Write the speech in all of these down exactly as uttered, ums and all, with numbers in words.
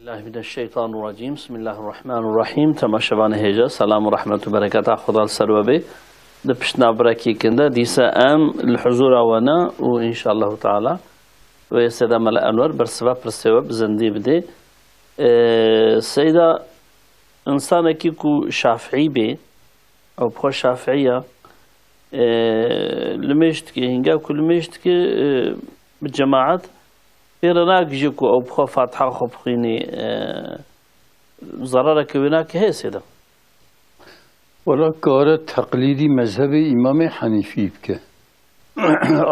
Bismillahirrahmanirrahim. Bismillahirrahmanirrahim. Temaşevanê hêja, selam û rehmet û bereketa Xuda li ser we bê. Di pişt navberekî kin de dîsa em li huzûra we ne û înşallahu teala wê Seyda Mela Enwer bersiva pirsê we bi zindî bidê. Ee, Seyda, insanekî ku şafîî bê, ew bi xwe şafîî ya, ee, limêj dike, hînga ku limêj dike, ee, bi cemaet pê re nagihîje ku ew bi xwe Fatiha xwe bixwînî, ee, zerareke wê nake heye Seyda? Wela kare teqlîdî mezhebê Îmamê Henîfî bike.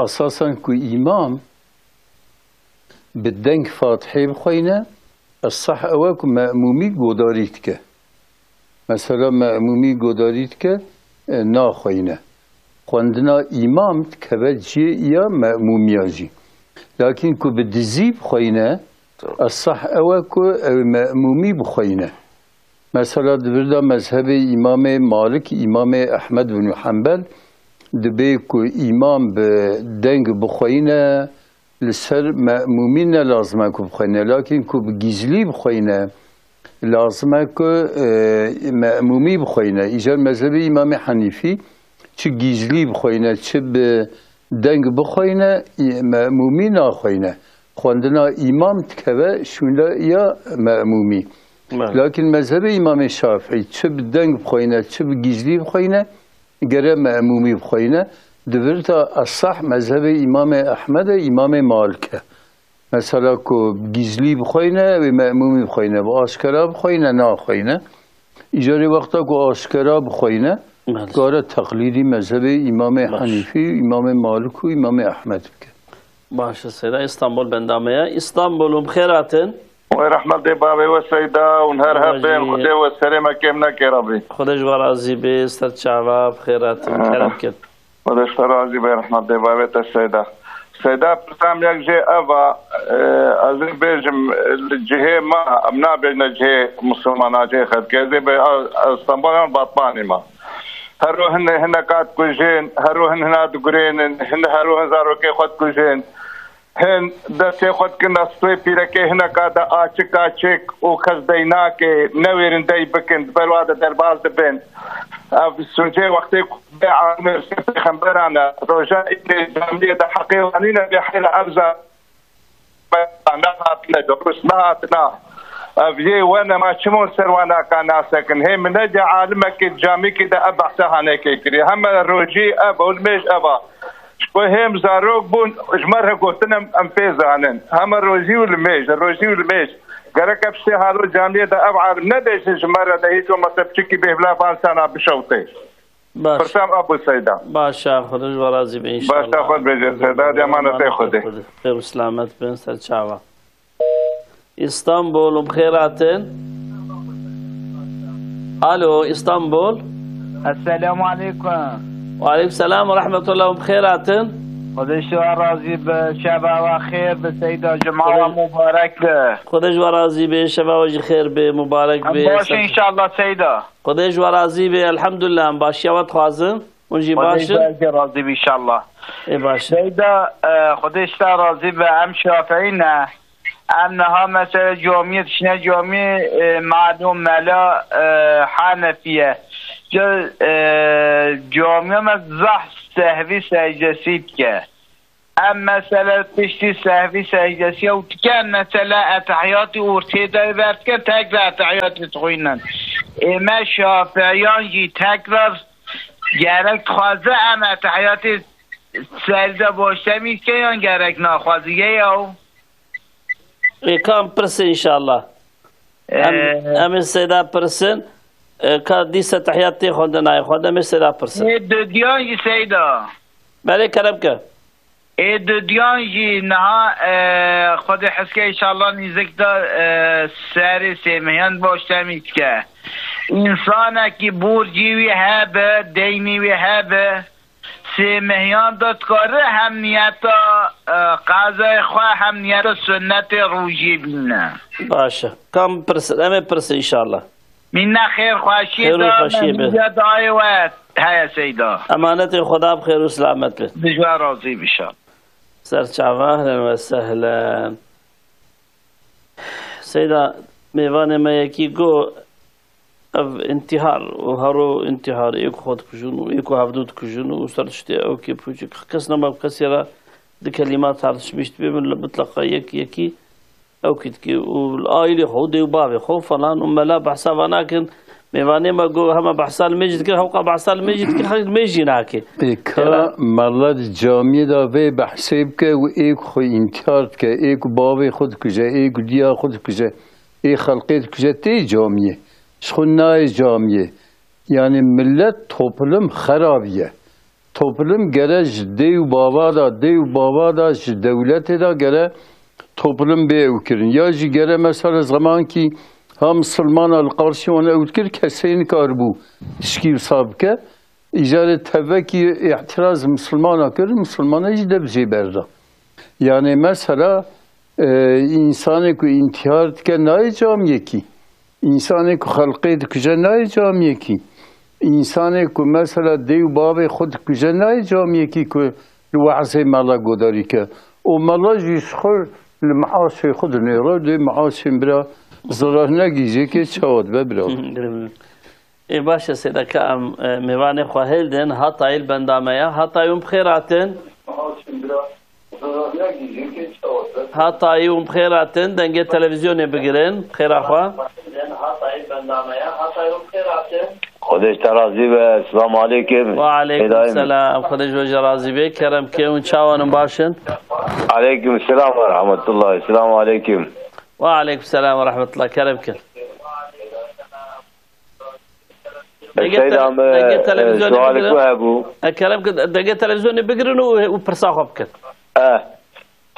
Esasen ku îmam bi deng Fatihê bixweyne, esah ew e ku me'mûmî godarî dike. Mesela me'mûmî godarî dike, e, naxweyne. Xwendina îmam dikeve cihê ya me'mûmiya jî. Lakin ku bi dizî bixweyne, esah ew e ku ew me'mûmî bixweyne. Mesela di vir de mezhebê Îmamê Malik, Îmamê Ehmed bin Hanbel, dibê ku îmam bi deng bixweyne, li ser me'mûmî ne lazim e ku bixweyne. Lakin ku bi gizlî bixweyne, lazim e ku, e, me'mûmî bixweyne. Îcar mezhebê Îmamê Henîfî çi gizlî bixweyne, çi bi deng bixweyne, î-, me'mûmî naxweyne. Xwendina îmam dikeve şûnde ya me'mûmî. Belê. Lakin mezhebê Îmamê Şafîî çi bi deng bixweyne, çi bi gizlî bixweyne, gere me'mûmî bixweyne. Di vir de esah mezhebê Îmamê Ehmed e, Îmamê Malik e. Mesela ku gizlî bixweyne, wê me'mûmî bixweyne, bi aşkera bixweyne, naxweyne. Îcarê wexta ku aşkera bixweyne, Belê. kare teqlîdî mezhebê Îmamê Baş. Henîfî, Îmamê Malik û Îmamê Ehmed bike. Baş e, Seyda, Îstanbul benda me ye. Îstanbul, hûn bi xêr hatin. Wê rehmetê bavê we Seyda, hûn her Baş hebên, bî. Xwedê we serê me kêm neke Rabbî. Xwedê ji we razî bê, ser çava, bi xêr hatin, Aha. kerem kin. Xwedê ji te razî be, rehmet dê bavê te Seyda. Seyda, pirsam yek jê ev a, e, ez ê bêjim, li cihê me, em nabêjine cihê Misilmana, cihê xelkê, ez ê bê, ez Stenbolê me, Batmanî me. Hero hin, hineka dikujên, hero hin hina digurênin, hin hero hin zarokê xwe dikujên. Hin destê xwe dikin astê pîrekê hineka de açik açik û kes dey nake, newêrin dey bikin, di ber wa de derbas dibin. Ev sûcê wextê ku bê alimê pêxemberan e, roja îdê camiyê de heqê wan nîne bê heyra ev za nehatine, durust nehatine. Ev yê wene ma çimon ser wan naka nasekin. Hê min ne de alimekê camîkî de ev behsa hanekê kiriye. Heme rojî ev, û limêj ev a. Ji bo hêm zarok bûn, ji me re gotin em, em pê zanin. Heme rojî û limêj, rojî û limêj. Gerek ev sê halo camiyê de ev alim nebêjin ji me re de hîç olmazsa piçikî bêhvla van sana bişewtê. Baş. Pirsam Abu Seyda. Baş e, Xwedê ji we razî be înşallah. Baş e, xwe bêje Seyda, hadi emanetê Xwedê. Xwedê. Xêr û selamet bin, ser çava. Îstanbul, hûn bi xêr hatin. Alo, Îstanbul. Esselamu aleykum. Ve aleykum selam ve rahmetullah, hûn bi xêr hatin. Xwedê ji we razî be, şeva we xêr be Seyda, cuma we Xwedê, mubarek be. Xwedê ji we razî be, şeva we jî xêr be, mubarek be. Em baş in înşallah Seyda. Xwedê ji we razî be, elhamdulillah, em başiya we dixwazin. Hûn jî baş in? Xwedê ji we razî be înşallah. Ê baş e. Seyda, e, Xwedê ji te razî be, em Şafîî ne. Em niha mesela camiyê dişine camiyê, e, malûm mela, e, Henefî ye. Ca-, e, camiya me zehf sehvî secdesî dike. Em mesela piştî sehvî secdesî ew dikin, mesela etehiyatî ortê de ver dikin, tekrar etehiyatî dixwînin. Ê me Şafîyan jî tekrar gerek dixwaze em etehiyatî secde başlemî dikin yan gerek naxwaze? Yê ew. Ê, ka em pirsin înşallah. Em, Ee, em ê Seyda pirsin. Ee, ka dîsa tehiyat tê xwendin, nayê xwendin, em ê Seyda pirsin. Ê, dudiyan jî Seyda. Belê, kerem ke. Ê, dudiyan jî niha, e, Xwedê hezke înşallah nîzik de, e, serê sêmehiyan baş temî dike. Însanekî borcî wî hebe, deynî wî hebe, sêmehiyan de dikare hem niyeta, e, qezayê xwe hem niyeta sunnetê rojî bîne. Baş e. Kam pirsin? Em ê pirsin înşallah. Mîna xêr xweşiyê Xêr û da xweşiyê me, be. Mîna dayê we heye Seyda. Emanetê Xweda bi xêr û selamet be. Bi ji we razî be înşallah. Ser çava, ehlen ve sehlen. Seyda, Mêvanê me yekî got, ev intihar û hero intihar, ê ku xwe dikujin û ê ku hevdû dikujin û ser tiştê ew kê pûçik kes nema bi kesê re di kelîma tartişmîş dibe, min li mitleqa yek yekî ew kî dikê û li aîlê xwe û dê û bavê xwe falan û mela behsa va nakin. Mêvanê me got, hema behsa li mêj dikir, hewqa behsa li mêj dikir, xelk mêj jî nake. Ê ka Êra- mela di camiyê de vê behsê bike û ê ku xwe intihar dike, ê ku bavê xwe dikuje, ê ku diya xwe dikuje, ê xelqê dikuje tê camiyê. Ji xwe nayê camiyê. Yani millet, toplum xerabiye. Toplum gere ji dê û bava de, dê û bava de, ji dewletê de gere toplum bê ew kirin. Ya jî gere mesela zemankî ha misilmana li qarşî wan ew dikir, kesê nikaribû tişkî wisa bike. Îcarê tevekî îtiraz misilmana kir, misilmana jî dev jê berda. Yani mesela, e, însanê ku întîhar dike nayê camiyekî. Însanê ku xelqê dikuje nayê camiyekî. Însanê ku mesela dê û bavê xwe dikuje nayê camiyekî ku li we'zê mela godarî ke. Û mela jî ji xwe li meaşê xwe dinêre, dê meaşên bira zirar negîjê kê çawa dibe bira. Ê baş e, Seyda, ka em, e, mêvanê xwe hêldin, Hatayî li benda me ya. Hatayî hûn bi xêr hatin. Hatayî hûn bi xêr hatin, dengê televîzyonê bigirin, bi xêra xwe. Xwedê ji te razî be, selamu aleykum. Wa aleykum selam, Xwedê ji we jî razî be, kerem ke, hûn çawan in, baş in? Aleykum selam ve rahmetullah, selamu aleykum. Wa aleykum selam ve rahmetullah, kerem ke. Dengê Seyda te-, me, dengê e, televîzyonê sualê bigirin. Ku hebû. E, kerem ke dengê televîzyonê bigirin û, û pirsa xwe bikin. E,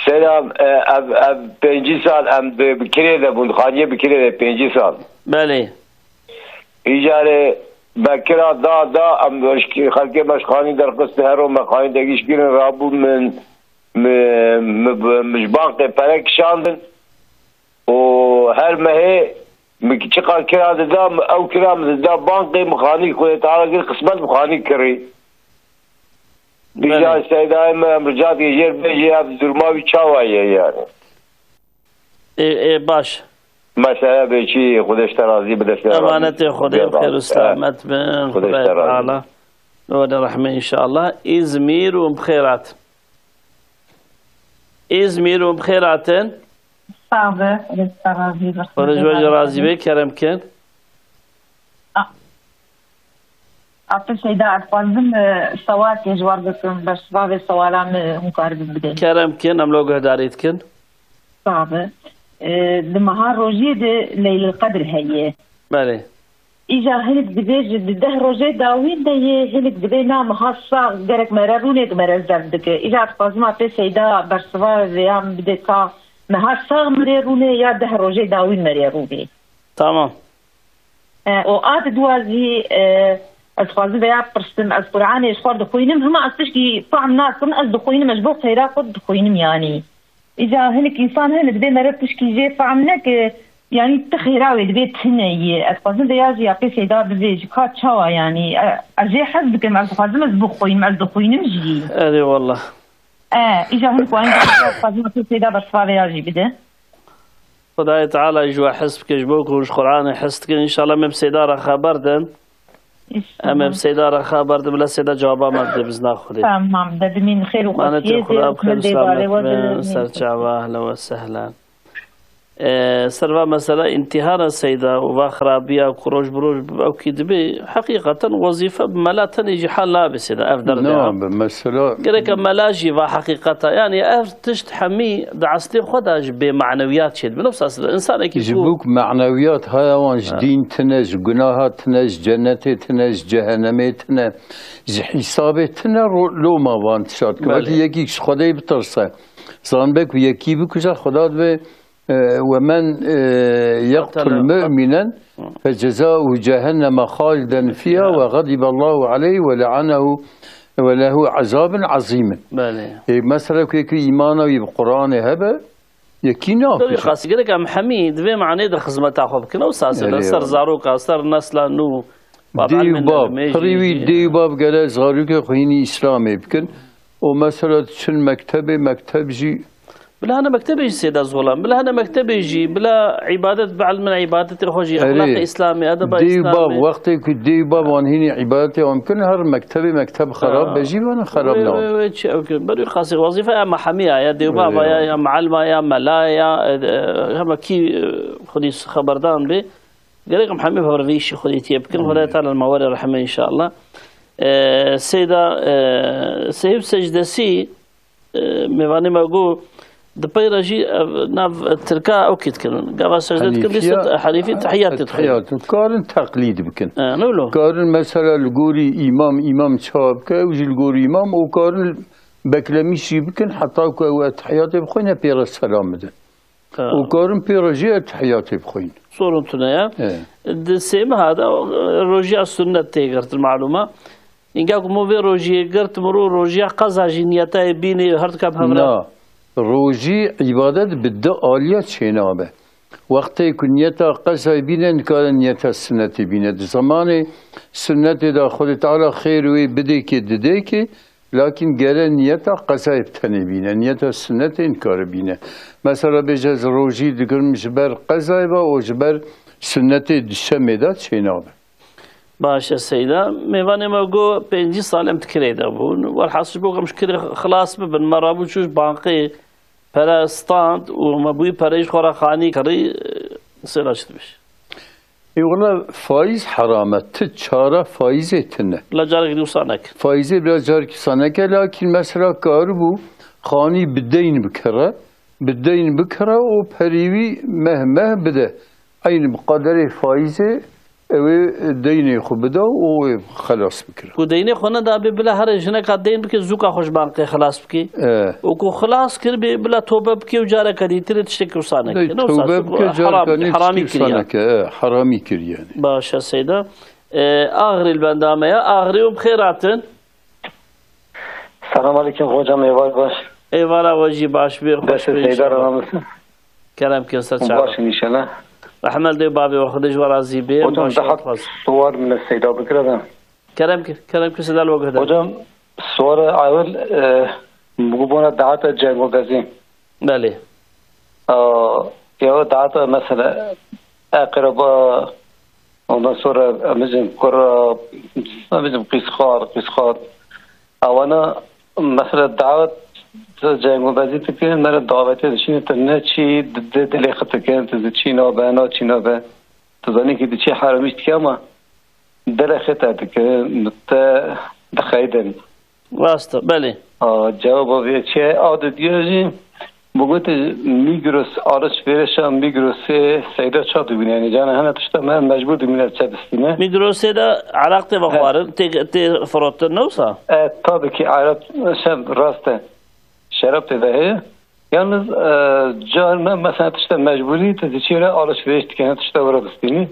Seyda, e, ev, ev pêncî sal em bi, bi kirê de bûn, xaniyê bi kirê de pêncî sal. Belê. Îcarê me kira da, da, em xelkê me ji xanî derxistin, her ro me xanî de gîş kirin, rabû min, mi, mi, mi ji bankê pere kişandin. û her mehê min çiqas kira dida, ew kira min dida bankê, min xanî Xwedê Teala kir qismet, min xanî kirî. Belê. Îca Seydayê min, em rica dike jêr bêjî, ev duruma wî çawa ye yani? Ê, ê, baş. Mesele bê çi, Xwedê ji te razî be, destê Emanetê Xwedê, bi xêr û selamet bin, Xwedê ji te razî be. Teala li we de rehme înşallah. Îzmîr û bi xêr hat. Îzmîr û bi xêr hatin. Sax be, Xwedê ji te razî be. Xwedê ji we jî razî be, kerem kin. A-, Apê Seyda, ez dixwazim, e, sewalkê ji we re bikim, bersiva vê sewala min hûn karibin bidin. Kerem kin, em lo guhdarî dikin. Sax be. E, di meha rojiyê de Leylil Qedr heye. Belê. Îja hinek dibêje di deh rojê dawîn de yê, hinek dibê na meha sax gerek me re rûnê, di me re zeft dike. Îja dixwazim Apê Seyda bersiva vêya min bide ka meha sax me rê rûnê ya deh rojê dawîn me rê rûnê. Tamam. E, û a di dua zî, e, ez dixwazim vêya pirsim, ez Quranê ji xwe dixwînim, hima ez tişkî fehm nakim, ez dixwînim, ez ji bo xêra xwe dixwînim yanî. Îca hinek însan hene, dibê meriv tişkî jê fehm neke, yanî ti xêra wê dibê tune yê. Ez dixwazim vêya jî ya pê Seyda bivêjî, ka çawa yanî? E, ez jê hez dikim, ez dixwazim ez bixwînim, ez dixwînim jî. Erê wallah. E, îca hinek wan jî dixwazim pê Seyda bersiva vêya jî bide. Xwedayê Teala ji we hez bike, ji bo ku hûn ji Quranê hez dikin. Înşallah em ê bi Seyda re xeber din. Em ê bi Seyda re xeber din, bila Seyda cewaba me bide bi izna Xwedê. Tamam, de dimîn xêr û Manetê xweşiyê Xweda de, bi xêr û min dê selamet barê we bin, de. Ser çava, ehlen we sehlen. E, ser va mesela întîhara Seyda û va xirabiya ku roj bi roj ew kî dibe, heqîqeten wezîfe bi mela tenê jî hal nabe Seyda, ev derdê ha. Nabe, mesela. Gerek e mela jî va heqîqeta, yanî ev tişt hemî di eslê xwe de ji bê manewiyat çêdibe. Wisa Seyda, însanekî Ji ku bo ku manewiyat haya wan ji Ha. dîn tine, ji gunaha tine, ji cennetê tine, ji cehennemê tine, ji hîsabê tine ro-, loma van tişt. Belê. Wekî yekî ji Xwedê bitirse, zanbe ku yekî bikuje, Xweda dibe, e, "Ve men, e, yeqtul Qatele. mu'minen Hı. fe cezauhu cehenneme haliden fiha Ha. ve gadiballahu aleyhi ve le'anehu ve lehu azabun azimin." Belê. E, mesela ku yekî îmana wî bi Quranê hebe, Yekî Tabii, nakirin. Xas gerek em hemî di vê manê de xizmeta xwe bikin. Ew sas Erê ser wala. zaroka, ser nesla nû. Dê û bab, pirî wî, dê û bab gere zarokê xwe hînî Îslamê bikin. Û mesela diçin mektebê, mekteb jî Bila hene mektebê jî sêda zolan. Bila hene mektebê jî, bila îbadet, bila min îbadetê xwe jî, Erê, exlaqê Îslamê, edeba dê û bav, Îslamê. Wextê ku dê û bav wan hînî îbadetê wan bikin, her mektebê mekteb xerab Aa. be jî wan xerab Wê, nabe. wê, wê, çi ew ki, berî xasî wezîfe ya mehemiya, ya dê û bava, Wê, ya, wê. ya mualima, ya mela, ya, e, e, hema kî, e, xwedî xeberdan bê. Gerek em hemî bi vî îşî xwedî tiyê bikin. Xwedê Teala li me were rehme înşallah. E, Seyda, e, Seyîd Secdesî, e, mêvanê me got, di pey re jî, e, nav tirka ew kî dikirin. Gava secde dikin, Henîfiya, bîst Henîfî tehiyatê dikirin. Tehiyatê. Karin teqlîd bikin. E, ne wilo? Karin mesela li gorî îmam, îmam çawa bike, ew jî li gorî îmam, û karin beklemîş jî bikin, heta ku ew etehiyatê bixwîne pê re selam bidin. Ha. Û karin pê re jî etehiyatê bixwîn. Sorun tune ye. E. Di sêmiha de, e, rojiya sunnet tê girtin, malûm e. Înga ku min vê rojiyê girt, mirov rojiya qeza jî niyeta yê bînê her dika bi hevra. Na, rojî îbadet bi du aliya çênabe. Wextê ku niyeta qezayê bîne, nikare niyeta sunnetê bîne. Di zemanê sunnetê de Xwedê Teala xêr wê bidê kê, didê kê, lakin gere niyeta qezayê bi tenê bîne. Niyeta sunnetê nikare bîne. Mesela bêje ez rojî digirim ji ber qezayê ve û ji ber sunnetê di şemê de çênabe. Baş e Seyda. Mêvanê me got, pêncî sal em di kirê de bûn. Welhasil ji bo ku em ji kirê xilas bibin, me rabû çû ji bankê pere stand û me bûyî pereyê ji xwe re xanî kirî, Seyda çi dibêje? Ê wela faîz heram e. Ti çara faîzê tune. La carekî dî wisa neke. Faîzê bila carekî wisa neke, lakin mesela karibû xanî bi deyn bikire, bi deyn bikire û perî wî meh meh bide. Eyn bi qederê faîzê ew ê deynê xwe bida û wê xelas bikira. Ku deynê xwe nedabê, bila here jineka deyn bike, zûka xwe ji bankê xilas bike. E. Û ku xilas kiribê, bila tobe bike û careke dîtirê tiştekî wisa neke. Dê Ne wisa, tobe çi ku bike, haram, careka nî haramî tiştekî wisa kiriye. neke. E, haramî kiriye yani. Baş e Seyda. E, Axrî li benda me ye. Axrî û bi xêr hatin. Selam aleyküm hocam, êvar baş. Êvara we jî baş bê, xweş Destê bê Seyda inşallah. Ranamis. Kerem ke ser çava. Baş inşallah. Rehmet dê bavê we, Xwedê ji we razî bê. Hocam, Baş daha dixwaz. sual min Seyda bikira da. Kerem ke, kerem ke Seyda li we guhda. Hocam, sual ewil, e, bu bona daata cengo bezî. Belê. Aa, ya daata mesela akraba, ondan sonra bizim kura, bizim qîsxar, qîsxar. Ewana mesela davet cengo bezî dikin, mere davete dişîne tu ne çi di, di, dilê xwe dikin, tu di çî nabe, na çî nabe. Tu zanî ki di çi heramîş dike ama dilê xwe te dikin, te dixeydin. Rast e, belê. A, cewaba vê çi ye? A didiya jî, bi gotê Migros, alişverişa Migrosê Seyda ça dibîne? Yani, cana hene tişta me mecbur dibîne çe bistîne. Migrosê de eraq tê vexwarin, tê, tê firotin, ne wisa? E, tabii ki, eraq, şey, rast e. Şerab tê de heye. Yalnız, e, car me, mesela, tişta mecburî, tu diçî re alişveriş dikene, tişta were bistînî.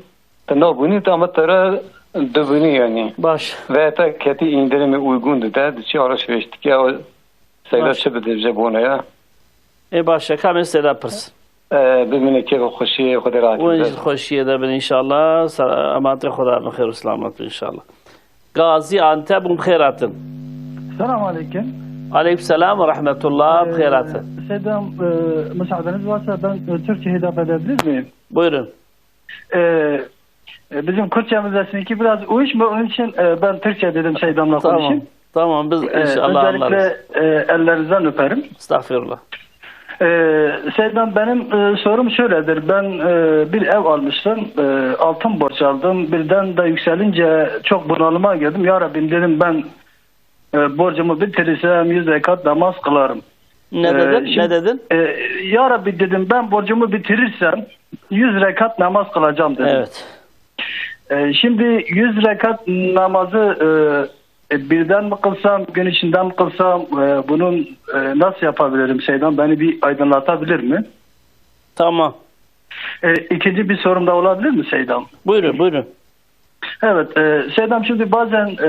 Te nabûnî, te ama te re dibûnî yani. Baş. Veya te ketî indirimê uygun dide, diçî alışveriş dike, o Seyda Baş. çi bidê ji bona ya? Ê baş e, kamê Seyda pirs. E, bimîne kêf û xweşiyê, Xwedê rahat Win bide. ji xweşiyê de bin inşallah. Sa-, emanetê Xweda bin, xêr û selamet bin inşallah. Gazî Antep û bi xêr hatin. Selam aleyküm. Aleyküm selam ve rahmetullah, bi xêr hatin. Ee, Seydam, e, müsaadeniz varsa ben, e, Türkçe hitap edebilir miyim? Buyurun. Ee, e, bizim Kürtçemiz de sizinki biraz uyuşmuyor. Onun için, e, ben Türkçe dedim Seydam'la Tamam. konuşayım. Tamam, biz Ee, inşallah özellikle, anlarız. e, ellerinizden öperim. Estağfirullah. Ee, Seydam, benim, e, sorum şöyledir. Ben, e, bir ev almıştım. E, altın borç aldım. Birden de yükselince çok bunalıma girdim. Ya Rabbim dedim, ben e, borcumu bitirirsem yüz rekat namaz kılarım. Ne Ee, dedin? şimdi, Ne dedin? e, Ya Rabbi dedim, ben borcumu bitirirsem yüz rekat namaz kılacağım dedim. Evet. E, şimdi yüz rekat namazı, e, e, birden mi kılsam, gün içinde mi kılsam, e, bunun, e, nasıl yapabilirim Seydam? Beni bir aydınlatabilir mi? Tamam. E, ikinci bir sorum da olabilir mi Seydam? Buyurun, buyurun. Evet, e, Seydam, şimdi bazen, e,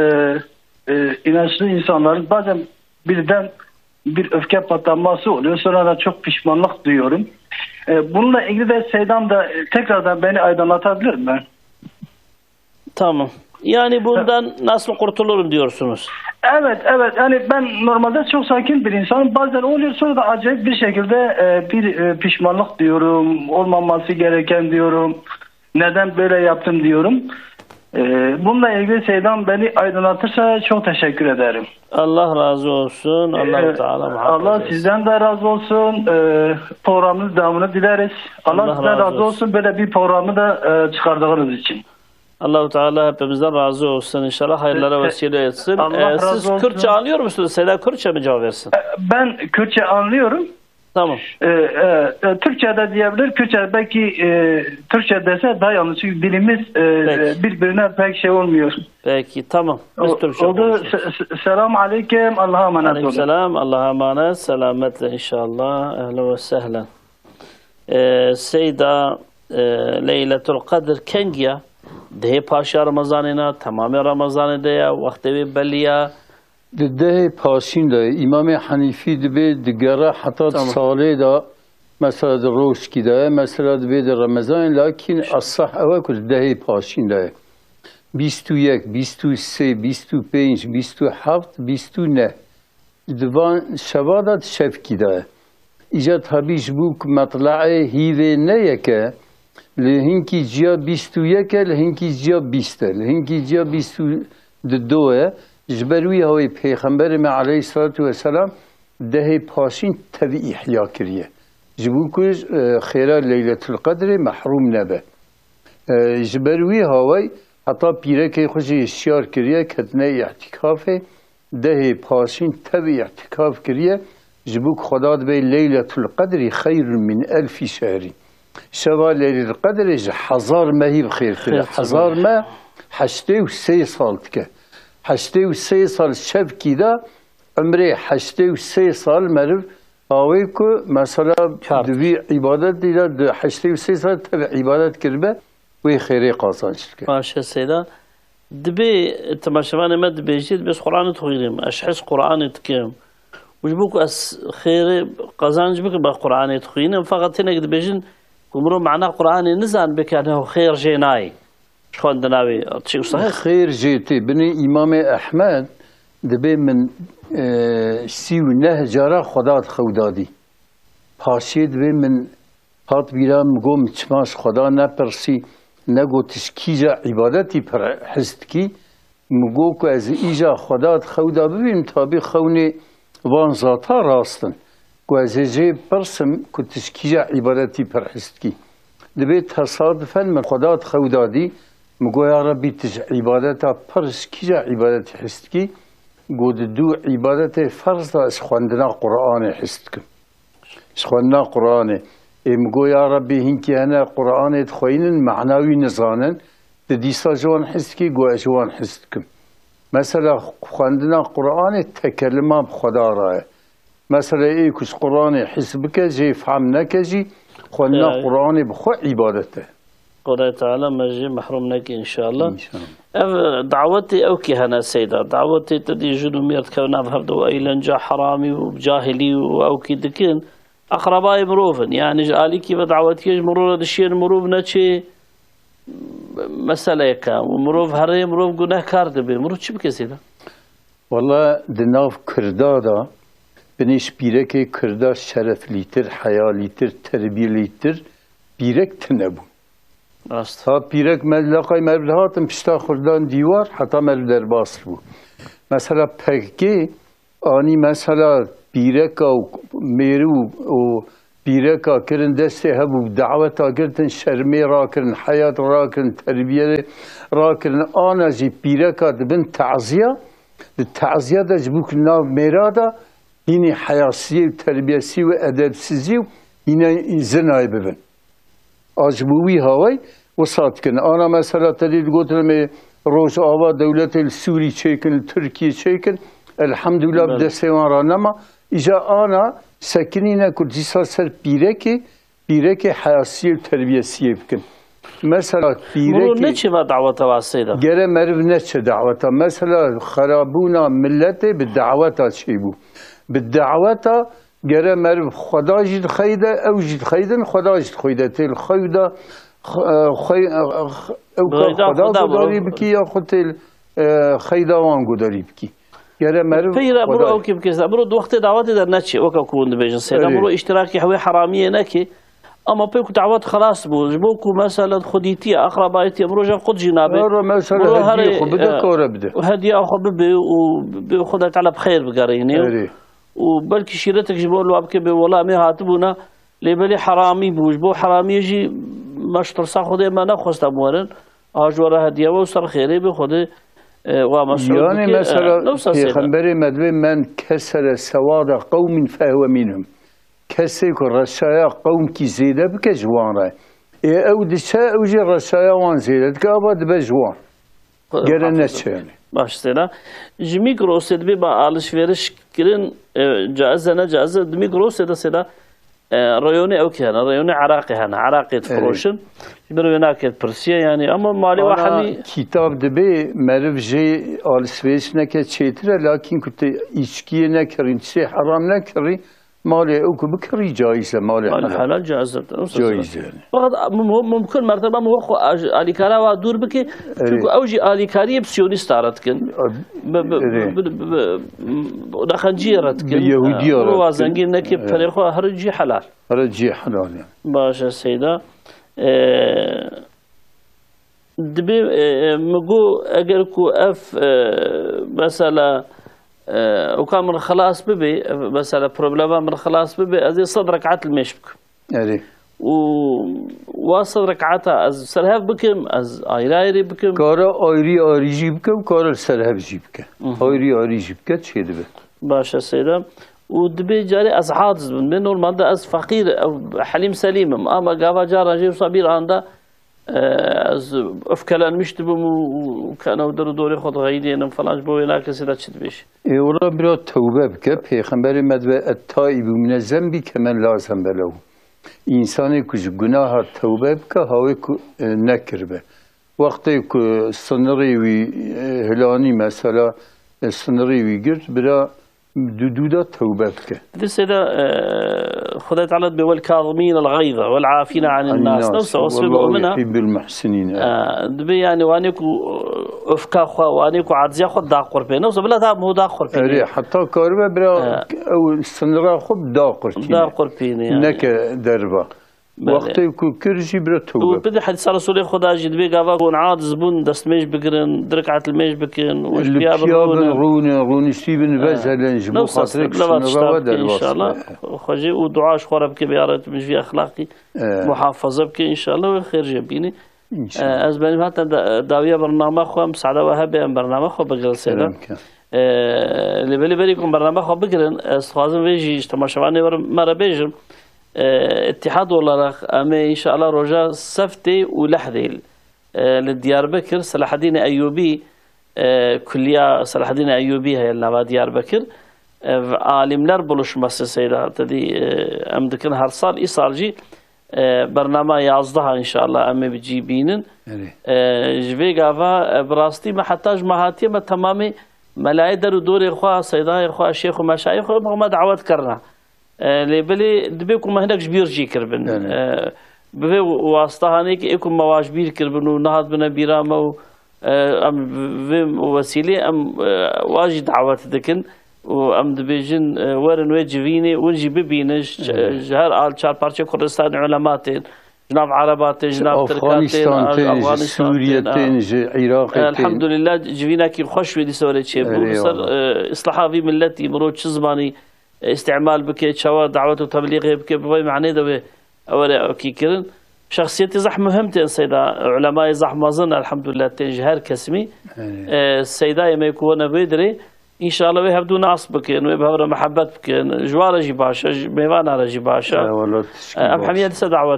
e, inançlı insanların bazen birden bir öfke patlaması oluyor. Sonra da çok pişmanlık duyuyorum. E, bununla ilgili de Seydam da, e, tekrardan beni aydınlatabilir mi? Tamam. Yani bundan nasıl kurtulurum diyorsunuz? Evet, evet. Yani ben normalde çok sakin bir insanım. Bazen oluyor, sonra da acayip bir şekilde e, bir e, pişmanlık diyorum, olmaması gereken diyorum. Neden böyle yaptım diyorum. E, bununla ilgili Seydan beni aydınlatırsa çok teşekkür ederim. Allah razı olsun. Allahu Ee, Teala muhabbet Allah etsin. Sizden de razı olsun. Ee, programınız devamını dileriz. Allah Allah sizden razı razı olsun. Olsun böyle bir programı da e, çıkardığınız için. Allahu Teala hepimizden razı olsun. İnşallah hayırlara Se- vesile etsin. Allah Ee, razı siz olsun. Kürtçe anlıyor musunuz? Seyda Kürtçe mi cevap versin? Ee, Ben Kürtçe anlıyorum. Tamam. Ee, e, e, Türkçe de diyebilir. Kürtçe belki e, Türkçe dese daha yanlış. Çünkü dilimiz e, Peki. e, birbirine pek şey olmuyor. Peki, tamam. Biz O- Türkçe oldu. konuşuyoruz. Se- se- Selam aleyküm. Allah'a emanet olun. Aleykümselam. Allah'a emanet. Selametle inşallah. Ehlen ve sehlen. Ee, Seyda, e, Leyletul Qedr kengî ya? Dehê paşiya Remezanê ne? Temamê Remezanê de ya? Wextê wê belî ya? Di dehê paşîn de ye. Îmamê Henîfî dibê digere heta Tamam. Salê de, mesela di rojkî de ye, mesela dibê di Remezanê, lakîn esah ew e ku di dehê paşîn de ye. Bîst û yek, bîst û sê, bîst û pênc, bîst û heft, bîst û neh. Di van şeva de di şevkî de ye. Îca tabî ji bo ku metle'ê hîvê ne yek e, li hinkî ciya bîst û yek e, li hinkî ciya bîst e, li hinkî ciya bîst û du e. Ji ber wî hawê Pêxemberê me aleyhisselatu vesselam dehê paşîn tevî îhya kiriye. Ji bo ku, e, xêra Leyletul Qedrê mehrûm nebe. E, ji ber wî hawey heta pîrekê xwe jî hişyar kiriye, ketine îtîkafê, dehê paşîn tevî îtîkaf kiriye, ji bo ku Xweda dibê Leyletul Qedrî xeyrun min elfî şehrî. Şeva Leyletul Qedrê ji hezar mehî bi xêrtir e. Xêrtir e. Hezar meh heştê û sê sal dike. Heştê û sê sal şevkî de, umrê heştê û sê sal meriv awê ku mesela Kar. Di vî îbadetî de di heştê û sê sal tevî îbadet kiribe, wê xêrê qazanc dike. Baş e Seyda. Dibê temaşevanê me dibêjî, dibê ez Qur'anê dixwînim, ez hez Qur'anê dikim. Û ji bo ku ez xêrê qazanc bikim, ez Qur'anê dixwînim. Feqet hinek dibêjin ku mirov mana Qur'anê nizan, bike ne xêr jê nayê. Ji xwendina wê, tiştê wisa heye? Xêr jê tê. Binê Îmamê Ehmed dibê min, e, sî û neh cara Xweda di xew da dî. Paşê dibê min hat bîra, min got, min çima ji Xweda nepirsî, negot tu ji kîja îbadetî pir hez dikî? Min got ku ez îja Xweda di xew de bibînim, tabî xewnê van zata rast in. Ku ez ê jê pirsim ku tu ji kîja îbadetî pir hez dikî? Dibê tesadifen min Xweda di xew de dî, min got, ya Rebbî, tu ji îbadeta pir, ji kîja îbadetî hez dikî? Got, di du îbadetê ferz de ez xwendina Qur'anê hez dikim. Ji xwendina Qur'anê. Ê min got, ya Rebbî, hinkî hene Qur'anê dixweynin, mana wî nizanin, tu dîsa ji wan hez dikî? Got, ez ji wan hez dikim. Mesela xwendina Qur'anê tekelima bi Xweda re ye. Mesela ê ku ji Qur'anê hez bike, jê fehm neke jî, xwendina Ya. Qur'anê bi xwe îbadet e. Xwedayê Teala me jê mehrûm neke înşallah. Înşallah. Ev dawetê ew kî hene Seyda. Dawetê te dî jin û mêr dikevin nav hevdu û eğlence, heramî û cahilî û ew kî dikin. Eqrebayê mirov in. Yani ji alîkî ve dawetiyê ji mirov re dişiyên mirov neçê meseleyeke. Û mirov herê, mirov gunehkar dibe. Mirov çi bike Seyda? Wala di nav Kirda de, binê ji pîrekê Kirda şereflîtir, heyalîtir, terbiyelîtir pîrek tune bû. Rast. Ha pîrek me leqay me dihatin pişta xurdan dîwar heta me derbas bû. Mesela P K K anî mesela pîreka û mêrû û pîreka kirin destê hebû bi daweta girtin, şermê rakirin, heyat rakirin, terbiyê rakirin, ana jî pîreka dibin teziya, di teziya de ji bo ku nav mêra de hînî heyasiyê û terbiyesî û edebsizî û hîne zinayê bibin. A ji bo wî hawey wisa dikin. Ana mesela te dî digotin em ê Rojava dewletê li Sûrî çêkin, li Tirkiyê çêkin. Elhamdulillah bi Belê. Destê wan re nema. Îja ana sekinîne ku dîsa ser pîrekê, pîrekê heyasiyê û terbiyesiyê bikin. Mesela Miro pîrekê neçe va daweta wasteyê de? Gere meriv neçe daweta. Mesela xerabûna miletê bi daweta çêbû. Bi daweta Gere meriv Xweda jî dixeyde, ew jî dixeydin, Xweda jî dixeyde. Tê li xew de, x-, e, xwey-, e, x-, Ew ka Xweda gudarî bikî ya xwe tê, e, xeyda wan gudarî bikî. Gere meriv Peyra biro ew kê bike, biro di wextê dawetê de neçê, weke ku hûn dibêjin seyda. Erê. Biro îştirakî hewê heramiyê neke. Ama pê ku dawet xelas bû, ji bo ku mesela xwedîtiye, axrabayetiye, biro jî qut jî nabe. Ero mesela Biro hediye herê, xwe bide, e, kore bide. Hediya xwe bibe û bê Xwedê Teala bi xeyr bigerîne. Erê. Û belkî şîretek ji bo li wa bike bê wela em ê hatibûna, lê belê heramî bû. Ji bo heramiyê jî me ji tirsa Xwedê me nexwest em werin. A ji we re hediye we û ser xêrê bê Xwedê, e, wa me sewd Yani bike. Mesela E, ne wisa seyda. Pêxemberê me dibê, "Men kesere sewada qewmin fehwe minhum." Kesê ku reşaya qewmkî zêde bike ji wan re. Ê ew diçe, ew jî reşaya wan zêde dike, ava dibe ji wan. Gere neçe yani. Baş seyda. Ji Migrosê dibê ba alişveriş kirin, e, caiz e, ne caiz e. Di Migrosê de seyda, e, reyonê ew kê hene, reyonê Iraqê hene. Iraqê difiroşin. Ji ber wê nake pirsiye yani. Ama malê wa Ana hemî kitab dibê meriv jê alişveriş neke çêtir e, lakin ku tu îçkiyê nekirî, tiştê heram nekirî, malê ew ku bikirî caiz e, malê Malê helal. Helal caiz e. Caiz e yani. Fakat mum-, mumkin mertebe mu xwe aj-, alîkara wa dûr bike. Erê. Çünkü ew jî alîkariyê bi siyonîsta re dikin. Bi, bi, Erê. bi, bi, bi, bi nexenciyê re dikin. Bi Yehudiya re Ro wa dikin. Zengîn neke Erê. Perê xwe her cî helal. Her cî helal yani. Baş e seyda. E, Dibê, e, e, min got, eger ku ev, e, mesela, e, ûka min xilas bibe, e, mesela, problema min xilas bibe, ez ê sed rekat li mêj bikim. Erê. Û wa sed rekata ez ser hev bikim, ez ayrı ayrı bikim. Kare ayrı ayrı jî bike û kare li ser hev jî bike. Hı hı. Ayrı ayrı jî bike, çê dibe. Baş e, seyda. Û dibê carê ez aciz bim. Dibê normalde ez feqîr, ew Helîm Selîm im. Ama gava caran jê wisa bir anda E, ez öfkelenmiş dibim û, û, û kene û der û dorê xwe dixeydênim falan, ji bo wê nakesê de çi dibêjî? Ê, wela bira tewbe bike. Pêxemberê me dibe, "Et-taibu mine zenbi kemen la zenbe lehu." Însanê ku ji gunaha tewbe bike, hawê ku, e, nekiribe. Wextê ku sinirê wî, e, hilanî, mesela, e, sinirê wî girt, bira Dû dû de tewbe bike. Di sê de, e, Xwedê Teala dibê, "Wel kazimîn el gayza, wel afîne anin nas." Nas, Newsa wasfê wallahu mumina. Yuhibbul muhsinin, e, evet. Dibê yani wanê ku, e, öfka xwe, wanê ku aciziya xwe da qurpê. Newsa bila da mu da qurpê. Erê, heta karibe bira, e, ew sinira xwe da qurpîne. Da qurpîne yani. Neke derva. Belê. Wextê ku kir jî bira tewbe. Û pir di hedîsa Resûlê Xweda jî dibê gava ku hûn aciz bûn, destmêj bigirin, di rekat li mêj bikin, û ji piya bin rûnin. Rûnin, rûniştî bin, vezelin ji bo xatirê ku sinira we derbas be. Înşallah. Xwe jê û dua ji xwe re bike, bê ya Reb min ji vî exlaqî muhafaza bike, înşallah wê xêr jê bînî. Înşallah. E, ez benim hatta da-, dawiya bername xwe, misada we hebe em bername xwe bigirin seyda. Kerem ke. E, lê belê berî ku bername xwe bigirin, ez dixwazim vê jî ji temaşevanê we re, me re bêjim. E, îtîhad olarak em ê înşallah roja seftê û lehdê, e, li Diyarbekir Selahaddîn Eyyûbî, e, kulliya Selahaddîn Eyyûbî heye li nava Diyarbekir. E, ve alimler buluşması seyda, te dî, e, em dikin her sal, îsal jî, e, bernama yazdeha înşallah em ê bi cî bînin. Erê. E, ji vê gava, e, bi rastî me heta ji me hatiye me temamê melayê der û dorê xwe, seydayê xwe, şêx û meşayê xwe, me dawet kirina. E, lê belê dibê ku me hinek ji bîr jî kiribin. Belê. E, bi vê wasta hanê ki ê ku me wa ji bîr kiribin û nehatbine bîra me û, e, em vê wesîlê em, e, wa jî dawet dikin û em dibêjin, e, werin wê civînê, win jî bibînin, ji, Belê. Ji her al çar parçeyê Kurdistanê ulema tên, ji nav Ereba tên, ji nav Tirka tên, Afganistan tên, ji Afganistan Sûriye tên, tên, ji Iraqê tên. Elhamdulillah, civînekî xweş wê dîsa were çêbû. Erê, Li ser, eyvallah. E, îslaha vî milletî, mirov çi zimanî, e, îstîmal bike, çawa dawet û teblîxê bike, bi vay manê de wê ew were ekî kirin. Şexsiyetê zehf muhim tên seyda, ulemayê zehf mezin, elhamdulillah, tên ji her kesimî. Erê. E, seydayê me ku wene vê dirê, înşallah wê hevdû nas bikin, wê bi hev re mihebet bikin. Ji wa re jî baş e, ji mêvana re jî baş e. Eyvallah, tişkî E, em baş. Hemiye dîsa dawet